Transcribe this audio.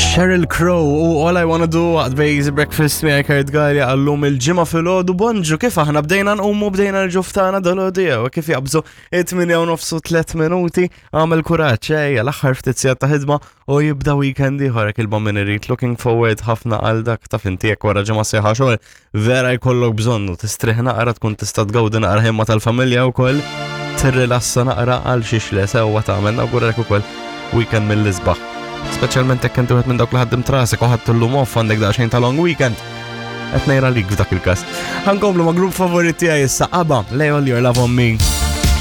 Sheryl Crow u All I Wanna Do waqt Bejz Breakfast miegħi Kurt Gallia għallum il-ġimgħa filgħodu bonġu kif aħna bdejna nqumu bdejna l-ġuftana dal-għodu jew kif jaqbżu it-8 u nofsu 3 minuti għamel kuraġġ ejja l-aħħar ftit sigħat ta' ħidma u jibda weekend ieħor hekk il min irid looking forward ħafna għal dak taf inti jekk wara ġimgħa sieħa xogħol vera jkollok bżonnu tistrieħ naqra tkun tista' tgawdi naqra ħimma tal-familja wkoll tirrilassa naqra għal xiex le sewwa tagħmel nawguralek ukoll weekend mill-isbaħ. Speċjalment jekk inti wieħed minn dawk li ħaddim trasek u ħadd illum off għandek daqsxejn ta' long weekend. Qed ngħidha lik f'dak il-każ. Ħankomplu ma' grupp favorit tiegħi issa ABBA, Lay All Your Love on Me.